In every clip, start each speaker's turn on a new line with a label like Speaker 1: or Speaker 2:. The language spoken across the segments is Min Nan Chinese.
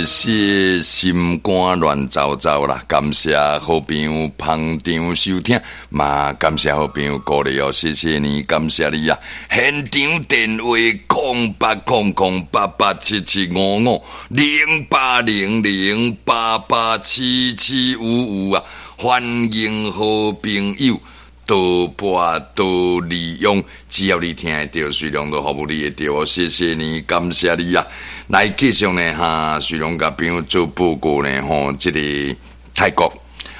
Speaker 1: 是心肝亂糟糟啦！感謝好朋友捧場收聽，嘛感謝好朋友鼓勵哦，謝謝你，感謝你啊！現場電話08008877550800887755啊！歡迎好朋友多撥多利用，只要你聽會著，水龍都服務你會著哦。謝謝你，感謝你啊！來繼續呢，哈，水龍共朋友做報告呢，吼，這個泰國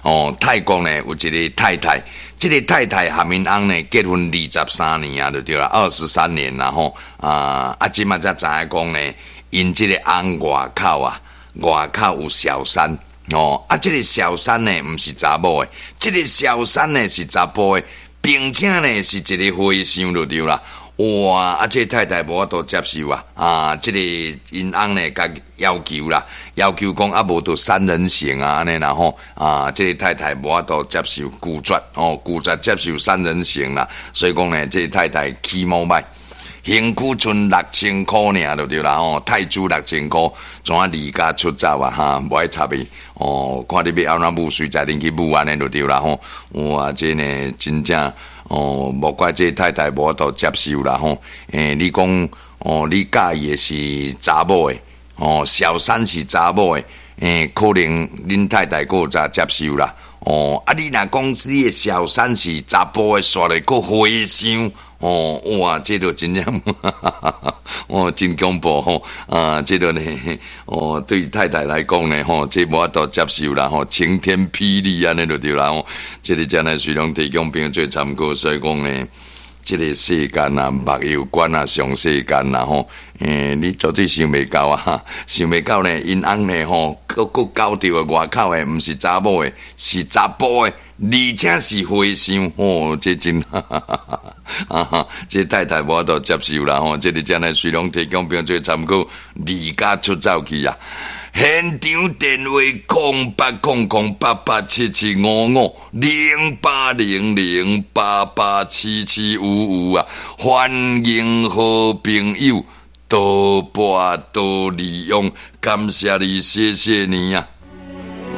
Speaker 1: 哦，泰國呢有一個太太，這個太太和𪜶翁呢結婚23年啊，就對啦，23年啦吼，啊啊，這馬才知影講呢，𪜶這個翁外口啊，外口有小三。哦，啊，這個小三呢，毋是查某的，這個小三呢是查埔的，並且呢是一個和尚就對啦。哇，啊，這個太太無法度接受啊，啊，這個𪜶翁呢，共要求啦，要求講啊，無就三人行啊，按呢啦吼，啊，這個太太無法度接受，拒絕哦，拒絕接受三人行啦，所以講呢，這個太太起毛歹。身軀賰6000箍爾就對啦吼，泰銖6000箍，怎啊離家出走啊？哈，無愛插伊哦，看你欲按怎舞，隨在恁去舞按呢就對啦吼。哇，這呢真正哦，無怪這太太無法度接受啦吼。欸，你講哦，你佮意的是查某的哦，小三是查某的，欸，可能恁太太閣有才接受啦。哦，啊，你若講你的小三是查埔的，煞來閣和尚。哦，哇，這個真正，哦，真恐怖吼！啊，這個呢，哦，對太太來講呢，吼，這無法度接受啦，吼，晴天霹靂按呢就對啦，吼，這個真係隨攏提供朋友做參考，所以講呢，這個世間啊，目有關啊，上世間啦，吼，欸，你絕對想袂到啊，想袂到呢，𪜶翁呢，吼，閣閣交著的外口的，毋是查某的，是查埔的，而且是和尚，吼，這真，啊哈，這太太無法度接受啦，吼，這個真係隨攏提供朋友做參考，離家出走去啊！現場電話08008877550800887755啊！歡迎好朋友多撥多利用，感謝你，謝謝你啊！